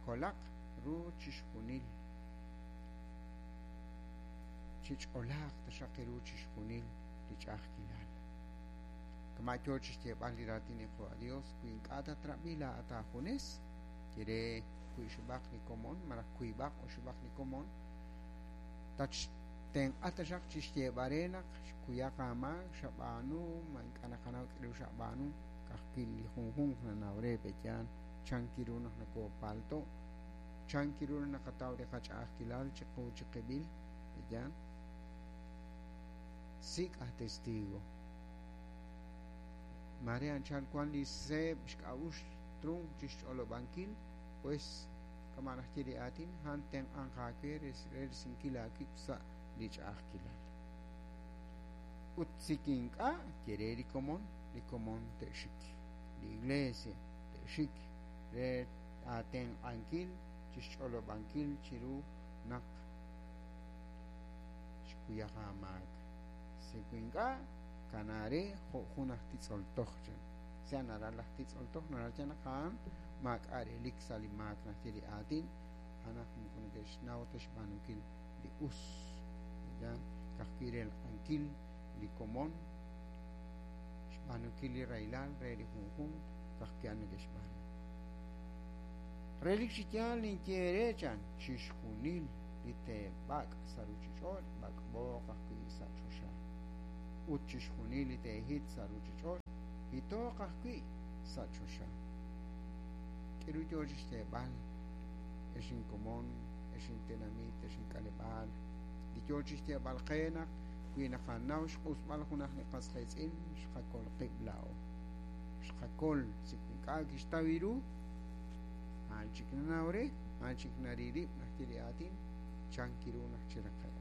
Qakolaq ru chixjunil. Chich'olaaq taxaq ru chixjunil li ch'a'ajkilal. Kama' yo chi xyeeb'al li raatin li Qaawa' Dios, wi ink'a' tatrab'i laa'at aajunes, ye re wi'xib'aq li komon malaj wiib'aq oxib'aq li komon, tatxtenq'a taxaq chi xyeeb'al re naq xkuyaq aamaak xab'aanu, ma ink'a' naqanaw k'aru xab'aanu, ka'ajwi' li junjunq nanaw re pe'yaal chan ru naq nokoopalto', chan ru naq naqataw li qach'a'ajkilal chiqu chiqib'il, pe'yaal. Sik' aj testigo. Mare anchal wan li seeb' xk'a'uxl trunk chi xch'olob'ankil, pues kama' naxye li aatin, a'an tenq'anq aawe re risinkil aawib' sa' li ch'a'ajkilal. Ut sik ink'a' ye re li komon te'xik, li iglesia te'xik re aatenq'ankil chi xch'olob'ankil chiru naq xkuyaq aamaak. Sik ink'a' kanaare jo' jun aj titz'oltoj chan. Sea naral laj titz'oltoj naral chan naq a'an maak'a' relik sa' li maak naxye li aatin, a'an aj moko neke'xnaw ta xb'aanunkil li us. Ya ka'ajwi' relq'ankil li komon, xb'aanunkil li rahilal re li junjunq, ka'ajwi' a'an neke'xb'aanu. Relik chi yaal ninye eere chan chixjunil li teeb'ak' sa' ruuchich'och' b'ak'b'ooq ajwi' sa' choxa. Ut chixjunil li teehit sa' ruuchich'och' hitooq ajwi' sa' choxa. K'aru yo chi xyeeb'al ex inkomon, ex intenamit, ex ink'aleb'aal, li yo chi xyeeb'al qe naq wi naqanaw xq'usb'al junaq li qas qiitz'in xqakol qib' laa'o. Xqakol sik ink'a' kixtaw ru, a'an chik nanaw re, a'an chik naririb' naxye li aatin, chan ru naq chiraqe'q.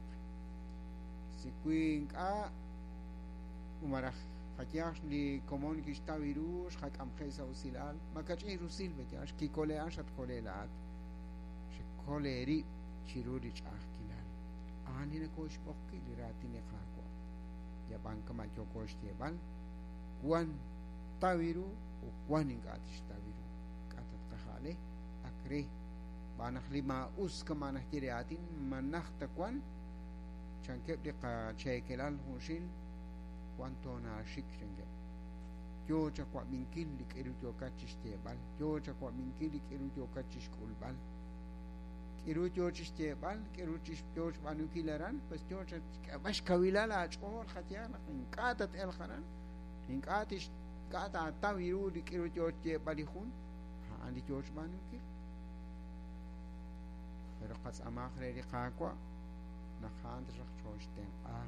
Si wi ink'a' malaj qayaj li komon kixtaw ru xqak'amje' sa' usilal, makach'in rusil pe'yaal xkikole' a'an xatkole' laa'at. Xekol eerib' chiru li ch'a'ajkilal. A'an li nakooxb'oqki li raatin li Qaawa'. Yab'an kama' yooko xyeeb'al, wan taw ru ut wan ink'a' tixtaw ru. K'a' tatqaja'le ak re b'aan naq li maa'us kama' naxye li aatin ma najt ta wan, chankeb' li qacheekelal junxil wan toonaaxik chankeb'. Yo chawab'inkil li k'aru yookat chi xyeeb'al, yo chawab'inkil li k'aru yookat chi xk'ulb'al. K'aru yo chi xyeeb'al, k'aru yo xb'aanunkil aran, pues yo chak'eeb'al xkawilal aach'ool qayehaq naq ink'a' tat-elq aran, ink'a' tix ink'a' taataw ru li k'aru yo xyeeb'al li jun, a'an li yo xb'aanunkil. Pero qatz'aamaaq re li Qaawa' naq a'an taxaq chooxtenq'a,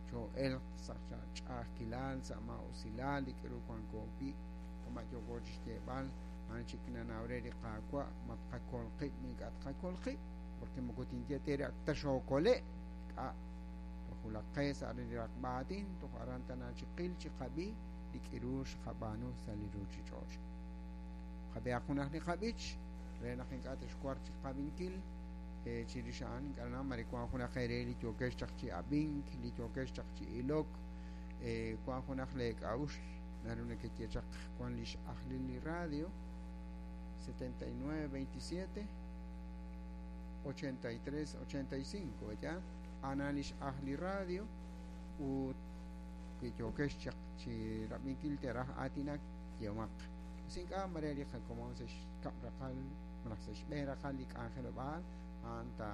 choo'elq sa' ch'a'ajkilal, sa' maa'usilal li k'aru wanko wi', kama' yooko chi xyeeb'al, a'an chik nanaw re li Qaawa' ma tqakol qib' ink'a' tqakol qib', porque moko tinye te re ak ta xookole', k'a' toj wulaq qe sa' li raqb'a aatin, toj aran tana chiqil chiqab'i li k'aru xqab'aanu sa' li ruuchich'och'. Qab'ihaq junaq li qab'ich re naq ink'a' texwar chiqab'inkil chirix a'an ink'a' nanaw mare wan junaq eere li yookex chaq chi ab'ink, li yookex chaq chi ilok, wan junaq lee k'a'uxl naru nekeye chaq wan li x'ajlil li radio 79 27 83 85, ¿verdad? A'an li x'ajl li radio ut wi yookex chaq chi rab'inkil teraj aatinak yeemaq. Us ink'a' mare li qakomon sa' xkab' raqal malaj sa' xb'een raqal li k'anjelob'aal a'an ta